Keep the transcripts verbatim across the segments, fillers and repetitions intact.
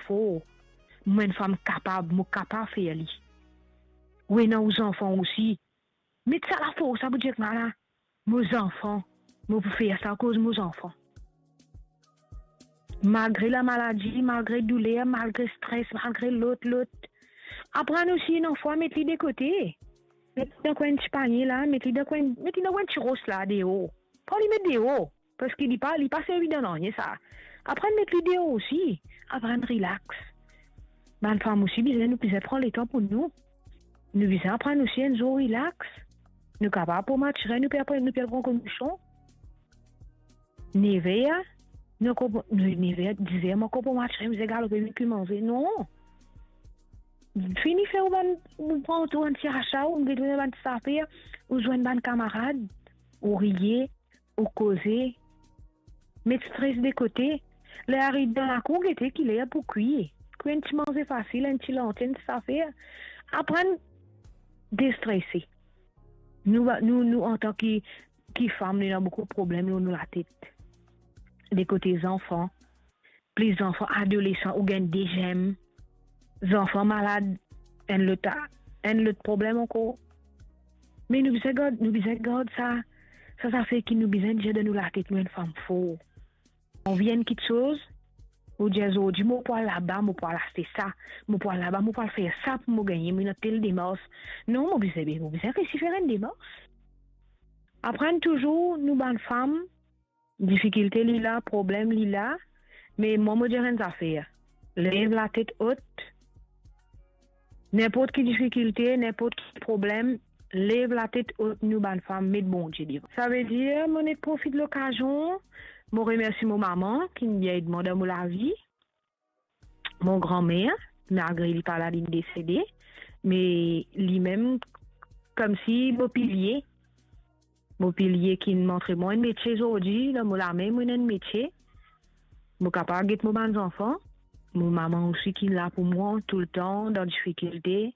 for. Mo enn fam kapab, mo kapav fer li. Ou ena ou zanfan osi. Met sa lafors la pou dir, ala, mo zanfan, mo pou fer sa akoz mo zanfan. Malgre lamaladi, malgre douler, malgre stres, malgre lot, lot. Aprann osi, ena fwa, met li de kote. Met li dan kwe enn ti panie la, met li dan kwe, met li dan kwe enn ti ros la, deor. Pran li met deor, parski li pa, li pa servi dan nanye sa. Aprann met li deor osi. Aprann relax. Bann fam osi bizin, nou bizin pran letan pou nou. Nou bizin aprann osi enn zour relax. Nou kapav pran matire, nou pe aprann, nou pe al pran komision. Nev er, nou ankor, nou, nev er, diz er, mo ankor pran matire, mo bizin galope vinn kwi manze. Non. Fini fer ou bann, ou pran ou bann ti asa, ou get ou bann ti zafer, ou zwenn bann kamarad, ou riye, ou koze, met stres de kote. Ler ariv dan lakour, gete ki ler pou kwi. Kwi enn ti manze fasil, enn ti lanti, enn ti zafer. Aprann destrese. Nou, nou, nou, antan ki, ki fam, nou ena boukou problem lor nou latet. De kote zanfan, plis zanfan adolesan, ou gagn deziem zanfan malad, enn lot, enn lot problem ankor. Me nou bizin gard, nou bizin gard sa, sa zafer ki nou bizin dir dan nou latet, nou enn fam for. Anvi enn kiksoz, ou dir, zordi mo pou al laba, mo pou al aste sa, mo pou al laba, mo pou al fer sa pou mo gagne, mo ena tel demars. Non, mo bizin, mo bizin resi fer enn demars. Aprann touzour, nou bann fam, difikilte li la, problem li la, me mwa mo dir enn zafer, lev latet ot. Ninport ki difikilte, ninport ki problem, lev latet ot, nou bann fam, met Bondie devan. Savedir, mo nek profit lokazion, mo remersi mo mama ki bien ed mwa dan mo lavi, mo granmer, malgre li pa la, li desede, me limem, koumsi mo pilie, mo pilie ki montre mwa enn metie zordi, dan mo lame mo ena enn metie, mo kapav get mo bann zanfan, mo mama osi ki la pou mwa toultan, dan difikilte,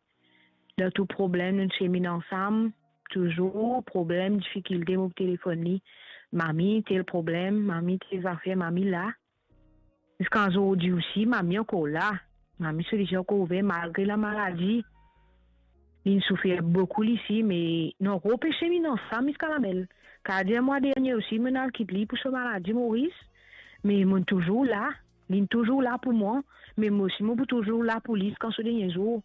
dan tou problem, nou semin ansam, touzour problem, difikilte, mo telefonn li, mami, tel problem, mami, tel zafer, mami la. Ziska zordi osi, mami ankor la. Mami so lizie ankor ouver, malgre lamaladi. Linn soufer boukou li si, me nou ankor pe semin ansam ziska lamel. Kadir mwa dernie osi, mo'nn al kit li pou so maladi Moris, me mo'nn touzour la. Linn touzour la pou mwa, me mwa osi mo pou touzour la pou li ziska so dernie zour.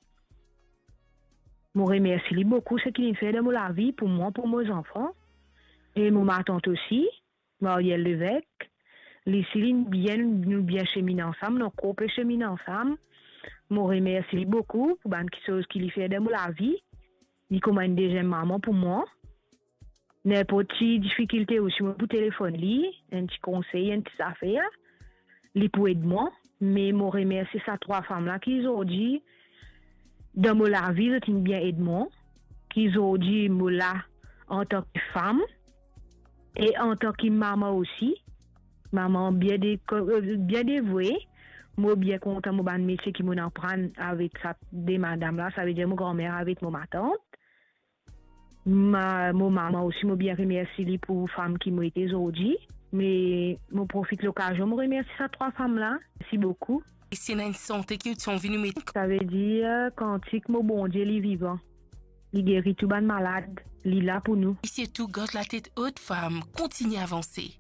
Mo remersi li boukou seki linn fer dan mo lavi, pou mwa, pou mo zanfan, e mo matant osi, Marielle Levesque. Li si linn bien, nou bien semin ansam, nou ankor pe semin ansam. Mo remersi li boukou pou bann kiksoz ki li fer dan mo lavi. Li kouma enn deziem mama pou mwa. Ninport ti difikilte osi, mo pou telefonn li, enn ti konsey, enn ti zafer, li pou ed mwa. Me mo remersi sa trwa fam la ki zordi dan mo lavi, zot inn bien ed mwa, ki zordi mo la antan ki fam e antan ki mama osi. Mama bien de, bien devoue. Mo bien kontan mo bann metie ki mo'nn aprann avek sa de madam la, savedir mo granmer avek mo matant. Ma, mo mama osi, mo bien remersi li pou fam ki mo ete zordi. Me mo profit lokazion, mo remersi sa trwa fam la. Mersi boukou. E si ena enn sante ki ou ti anvi nou met? Savedir, kantik mo Bondie, li vivan. Li geri tou bann malad. Li la pou nou. E sirtou, gard latet ot, fam. Kontigne avanse.